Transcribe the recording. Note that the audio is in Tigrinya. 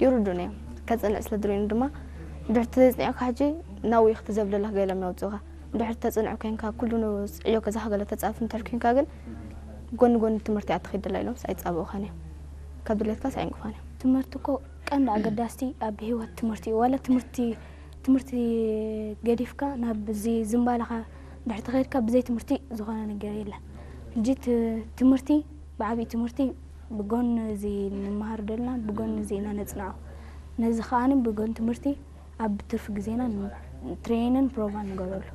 ይርዱን እዮም። ከጽንዕ ስለ ድልዩኒ ድማ ድሕርቲ ተጽኒዕካ ሕጂ ናብኡ ኢኺ ትዘብለለኽ ገሎም የውጽኡኻ። ድሕርቲ ተጽንዕ ኮይንካ ኩሉ ንጽዕዮ ገዛኻ ገለ ተጻርፍ እንድሕር ኮይንካ ግን ጎኒ ጎኒ ትምህርቲ ኣትኺድ ድላ ኢሎም ኣይጻብኡኻን እዮም። ካብ ድሌትካስ ኣይንቅፋን እዮም። ትምህርቲ እኮ ቀንዲ ኣገዳስቲ ኣብ ህይወት ትምህርቲ እዩ። ዋላ ትምህርቲ ትምህርቲ ገዲፍካ ናብ እዚ ዝምባለኻ ድሕርቲ ከድካ ብዘይ ትምህርቲ ዝኾነ ነገር የለን። ሕጂ ት- ትምህርቲ ብዓብዪ ትምህርቲ ብጎን እዚ ንመሃር ደልና ብጎን እዚ ኢና ነጽንዖ። ነዚ ከዓኒ ብጎን ትምህርቲ ኣብ ትርፊ ግዜና ትሬንን ፕሮቫን ንገብረሉ።